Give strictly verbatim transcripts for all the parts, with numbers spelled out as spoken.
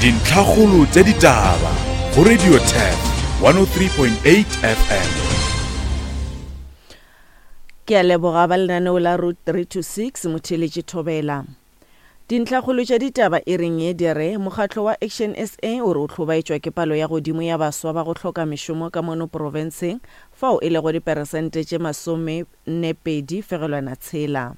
Dintlhakgolo tša ditaba go Radio Turf one oh three point eight F M. Ke a leboga ba lenaneo la Route three two six motheeletši Thobela. Dintlhakgolo tša ditaba e reng ye di re mokgatlo wa Action S A o re o hlobaetšwa ke palo ya godimo ya baswa ba go hloka mešomo ka mono profenseng fao e lego diperesente tše masome nne pedi fegelwana tshela.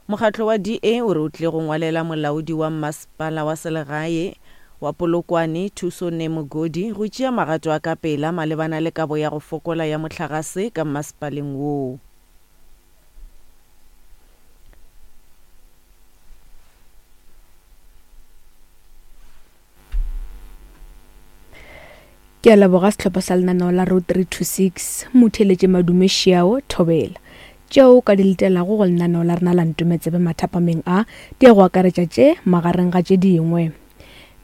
Mokgatlo wa D A o re o tlile go ngwalela molaodi wa mmasepala wa selegae wa Polokwane Thuso Nemogodi go tšea magato a ka pela malebana le kabo ya go fokola ya mohlagase ka mmasepaleng woo. Ke a leboga sehlopha sa lenaneo la Road three two six motheeletše Madume Šiao Thobela. Tšeo ka di letelago go lenaneo la rena la Ntometsebe mathapameng a di ya go akaretša tše magareng ga tše dingwe.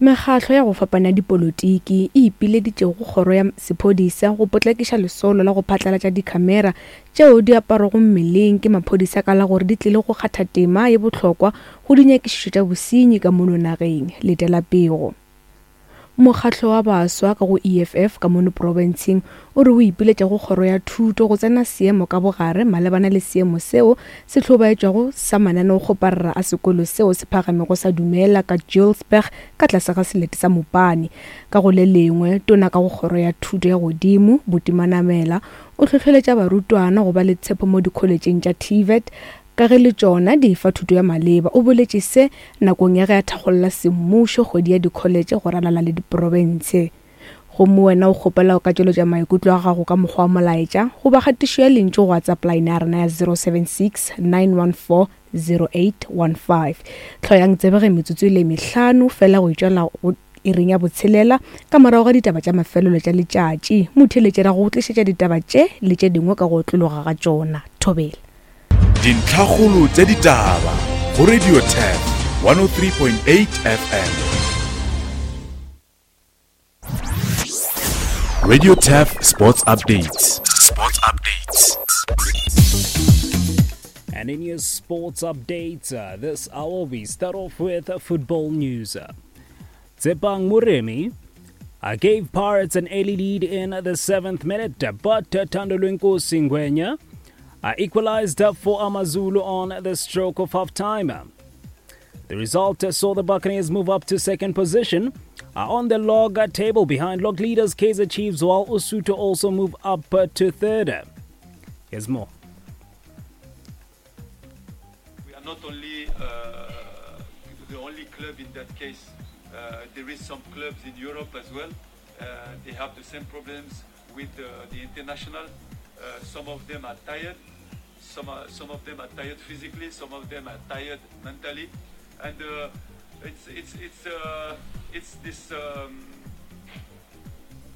Mekgatlo ya go fapana dipolotiki e ipileditše go kgoro ya sephodisa go potlakiša lesolo la go phatlalatša dikhamera tšeo di aparwago mmeleng ke maphodisa ka la gore di tlile go kgatha tema ye bohlokwa go dinyakišišo tša bosenyi ka mono nageng. Letela pego. Mokgatlo wa baswa ka go E F F ka mono profenseng o re o ipiletša go kgoro ya thuto go tsena seemo ka bogare malebana le seemo seo se hlobaetšwago sa mananeokgoparara a sekolo seo se phagamego sa Dumela ka Julesburg ka tlase ga selete sa Mopani. Ka go le lengwe, tona ka go kgoro ya thuto ya godimo Buti Manamela o hlohleletša barutwana go ba le tshepo mo dikholetšeng tša T V E T ka ge le tšona di fa thuto ya maleba. O boletše se nakong ya ge a thakgolla semmušo kgwedi ya dikholetše go ralala le diprofense. Gomme wena o kgopela o ka tšweletša maikutlo a gago ka mokgwa wa molaetša goba kgatišo ya lentšu go WhatsApp line ya rena ya zero seven six nine one four zero eight one five. Hloyang tsebe ge metsotso e le mehlano fela go itšwela go iring ya botshelela ka morago ga ditaba tša mafelelo tša letšatši. Motheeletši ra go tlišetša ditaba tše le tše dingwe ka go otlologa ga tšona. Thobela. Dintlhakgolo tša ditaba go Radio Turf one oh three point eight F M. Radio Turf Sports Updates. Sports Updates. And in your sports updates, uh, this hour we start off with football news. Tsepang Moremi uh, gave Pirates an early lead in the seventh minute, but Thandolwenkosi Ngwenya Uh, equalized for AmaZulu on the stroke of half-time. The result saw the Buccaneers move up to second position uh, on the log table behind log leaders Kaizer Chiefs, while Usuthu also move up to third. Here's more. We are not only, uh, the only club in that case. Uh, there is some clubs in Europe as well. Uh, they have the same problems with, uh, the international. Uh, some of them are tired. Some are, some of them are tired physically. Some of them are tired mentally, and, uh, it's, it's, it's, uh, it's this, um,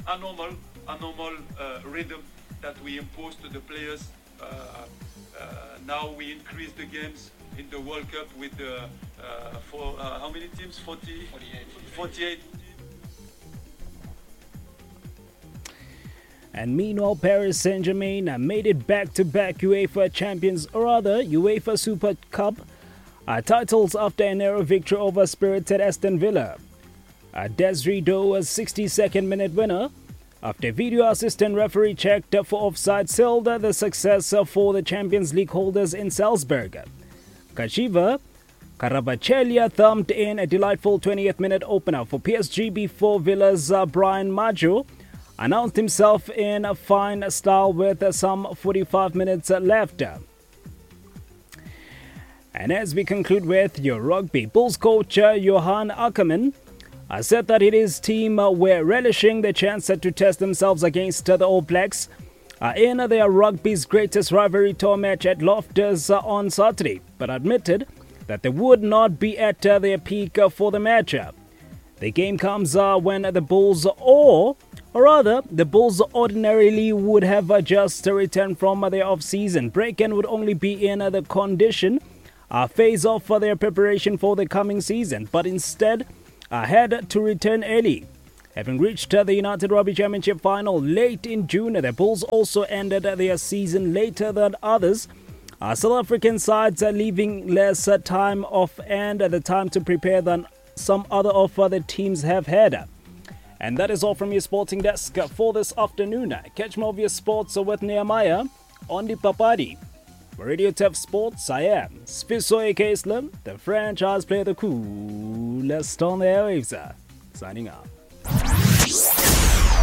abnormal, abnormal, uh, rhythm that we impose to the players. Uh, uh, now we increase the games in the World Cup with the, uh, for, uh, how many teams? forty, forty-eight. forty-eight. And meanwhile, Paris Saint-Germain made it back-to-back UEFA Champions, or rather UEFA Super Cup, uh, titles after a narrow victory over spirited Aston Villa. Uh, Desiree Doué's sixty-second minute winner, after video assistant referee checked for offside, sealed the success for the Champions League holders in Salzburg. Khvicha Kvaratskhelia thumbed in a delightful twentieth minute opener for P S G before Villa's, uh, Brian Madjo announced himself in a fine style with some forty-five minutes left. And as we conclude with your rugby, Bulls coach Johan Ackermann said that his team were relishing the chance to test themselves against the All Blacks in their rugby's greatest rivalry tour match at Loftus on Saturday, but admitted that they would not be at their peak for the matchup. The game comes when the Bulls, or, or rather, the Bulls ordinarily would have just returned from their off-season break and would only be in the condition uh, phase off for their preparation for the coming season, but instead uh, had to return early. Having reached the United Rugby Championship final late in June, the Bulls also ended their season later than others. Uh, South African sides are leaving less time off and the time to prepare than some other of the teams have had. And that is all from your sporting desk for this afternoon. Catch more of your sports with Nehemiah on the Papadi. For Radio Turf Sports, I am Sfiso A K Slim, the franchise player, the coolest on the airwaves. Signing out.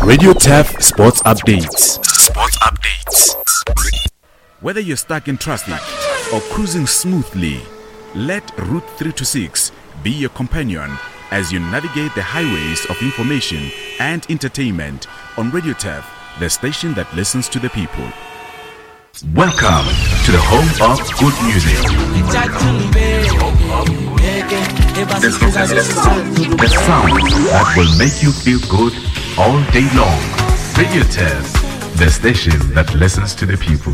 Radio Turf Sports Updates. Sports Updates. Whether you're stuck in traffic or cruising smoothly, let Route three two six be your companion as you navigate the highways of information and entertainment on Radio Turf, the station that listens to the people. Welcome to the home of good music. The, the sound that will make you feel good all day long. Radio Turf, the station that listens to the people.